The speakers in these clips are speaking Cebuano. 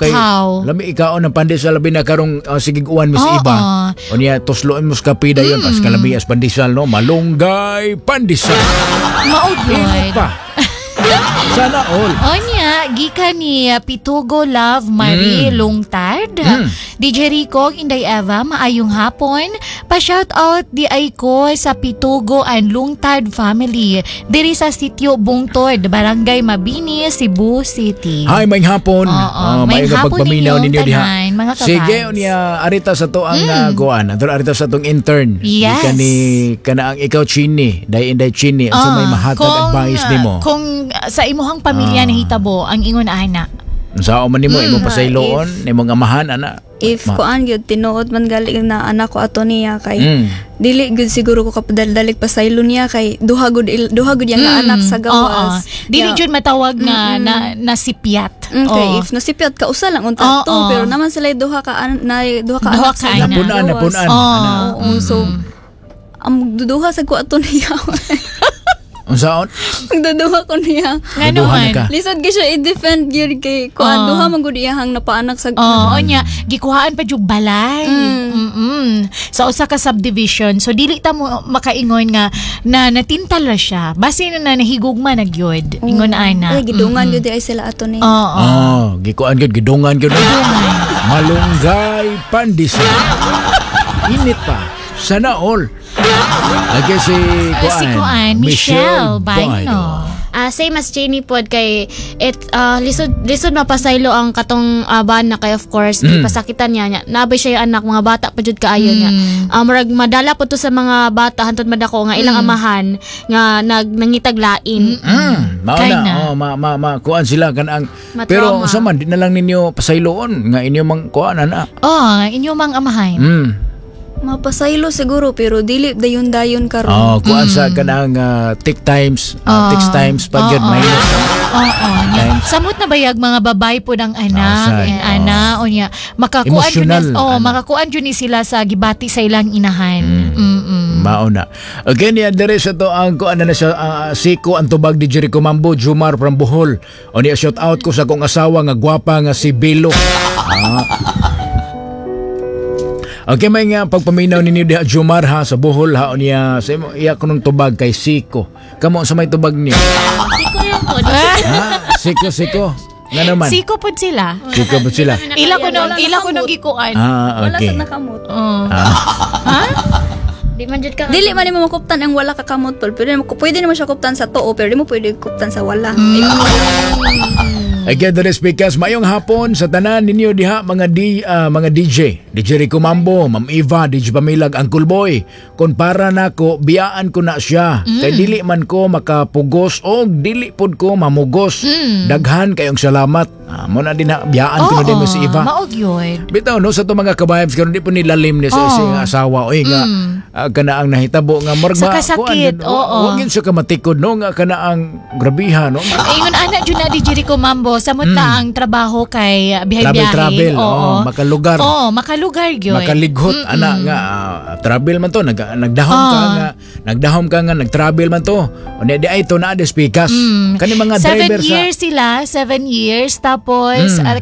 Kay how. lami ikaon ng pandesal, labi na karong sigig uwan, Miss Iba. Unya tusloon mo sa kape dayon pas kalami as pandesal, no? Malunggay pandesal. Mao Init gyud. Pa. Sana all. Onya, gikan ni Pitugo Love Marie Lungtad. DJ Rico, Inday Eva, maayong hapon. Pa-shout out di ay ko sa Pitugo and Lungtad family. Diri sa Sitio Bungtod, Barangay Mabini, Cebu City. Hi, maayong hapon. Oo, Oh, maayong maayong hapon pagpaminaw ninyong ninyo diha. tanan, mga ka-vibes. Sige, unya arita sa to ang kuan. Adto arita sa tong intern. Yes. Gikan ni kana ang ikaw Chini, day Inday Chini, unsa may mahatag advice nimo? Kung sa imuhang pamilya nahitabo ang ingon ana. Unsa man nimo imong pasayloon, imong amahan ana? If kuan gyud, tinuod man gali na anak ko ato niya kay dili gyud siguro ko kapadaldalig pasaylo niya kay duha gud yang anak sa gawas. Oo. Dili Yeah. jud matawag nga na nasipyat. Kay Oo. if nasipyat ka, usa lang unta to, pero naman sila duha ka duha ka Duha anak ka sa anak. Napunan, gawas. napunan. Oo. Ana. Oo, so ang magduduha sa ko ato niya. Unsaon? Magduduha ko niya. Nga Duduha na naman. ka. Lisod gyud siya i-defend gyud kay kuan, duha man gud iyahang napaanak sa Oo, nya gikuhaan pa jud balay. Sa usa ka subdivision. So dili ta mo makaingon nga na natintal ra siya. Basin na nahigugma na gyud. Ingon ana. Ay, gidungan gyud ay sila ato niya. Oo. Oh, gikuan gyud, gidungan gyud. Malunggay pandesal. Init pa. Sana all. Lagi si Kuan. Si Kuan, Michelle Baino. Same as Jenny pod kay it lisod lisod mapasaylo ang katong bana kay of course ipasakitan niya niya nabay siya yung anak, mga bata pa jud kaayo niya. Murag madala po to sa mga bata hantod madako nga ilang amahan nga nag nangitag lain. Mao Kay na, na. oh, ma ma ma kuan sila kan ang Matrauma. pero unsa man, di na lang ninyo pasayloon nga inyo mang kuan ana. Oh, inyo mang amahan. Mapasaylo siguro pero dili dayon dayon karon. Oh, kuan sa kanang tick times, tick times pa gyud may. Oo. Nya. Samot na bayag mga babae po ng anak, Outside, eh, ana, o nya. Makakuan jud Emotional, ni, oh, ana. makakuan jud ni sila sa gibati sa ilang inahan. Mao na. Okay niya dere sa to ang kuan na sa siko ang tubag di Jericho Mambo Jumar from Bohol. O niya, shout out ko sa akong asawa nga gwapa nga si Belo. Okay, may nga pagpaminaw ninyo diha Jumar ha sa Bohol ha, o niya sa imo iya kunong tubag kay Siko. Kamo sa may tubag niyo? Siko lang po. Ha? Siko, Siko. Nga naman. Siko pod sila. Siko ba sila? Ila ko nung gikuan. Ah, Wala okay. sa nakamot. Oh. Di man jud ka Dili man nimo makuptan ang wala ka kamot pol, pero pwede nimo siya kuptan sa tuo pero di mo pwede kuptan sa wala. Again, the speakers, mayong hapon sa tanan ninyo diha mga DJ. DJ Rico Mambo, Ma'am Eva, DJ Pamilag, Uncle Boy. Kung para nako, biyaan ko na siya. Kay dili man ko makapugos o dili pod ko mamugos. Daghan kayong salamat. Mo na din ha, biyaan ko na din mo si Eva. Mao gyud. Bitaw no sa to mga ka-vibes karon di po nilalim ni sa isang asawa oy nga kana ang nahitabo nga murag Sa kasakit, kuan, oo. wa gyud siya kamatikod no nga kana ang grabiha no. Ingon ana jud na di Jericho Mambo, samot na ang trabaho kay bihay-biyahe. Travel, travel, oo, makalugar. Oo, makalugar gyud. Makalighot ana nga travel man to, nagdahom ka nga nagdahom ka nga nagtravel man to, unya di ay to na des pikas kani mga 7 driver sa years sila, 7 years tapos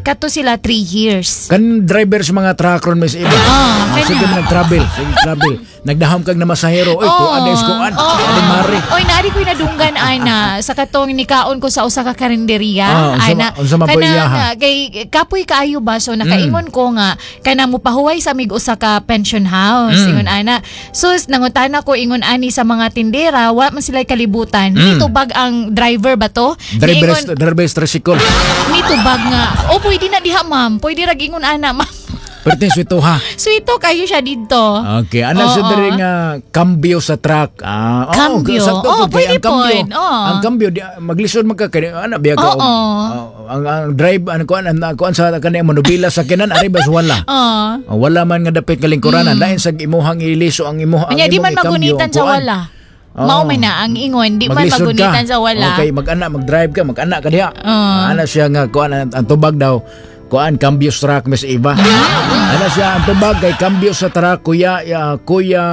kato sila 3 years. Kan driver sa mga truck ron, Miss Iba. Kanya. Sige man nagtravel, sige travel. Nagdahom kag na masahero, oy, to ades ko an. Ade mare. Oy, naari ko'y nadunggan ana sa katong nikaon ko sa usa ka karinderya. Unsa Ana, unsa man po kana iyaha? nga, kay kapoy kaayo ba, so nakaingon ko nga kana mupahuway sa mig usa ka pension house ingon ana. Sus, nangutana ko ingon ani sa mga tindera, wa man sila kalibutan. Nitubag ang driver ba to? Driver Niingon, driver tricycle. Nitubag nga, "Oh, pwede na diha, ma'am. Pwede ra ingon ana, ma'am." Perting swito ha. Sweeto kayo siya dito. Okay, ana siya Oo. diri nga kambyo sa truck. Ah, oo, Kambyo. sakto Oo, po, kay pwede ang kambyo. pod. Oo. Ang kambyo di, maglisod man ka kay ana biya ka. Oo. Ang drive ano kuan ang kuan sa kanang manubila sa kinan ari bas wala. Oo. Wala man nga dapit kalingkuranan lain sa imuhang iliso ang imuha ang Unya di imong man ikambyo, magunitan ang sa kuan. wala. Oo. Mao man na ang ingon, di man Maglisod magunitan ka. sa wala. Okay, mag-ana, mag-drive ka, mag-ana ka diha. Oo. Ana siya nga kuan ang tubag daw. Kuan cambio sa truck, Miss Eva. Ana siya ang tubag kay cambio sa truck, Kuya Kuya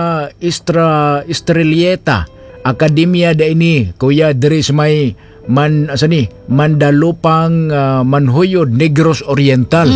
Istra Estrelieta Akademya da ini Kuya diri sa may man asa ni Mandalupang, Manhuyod, Negros Oriental.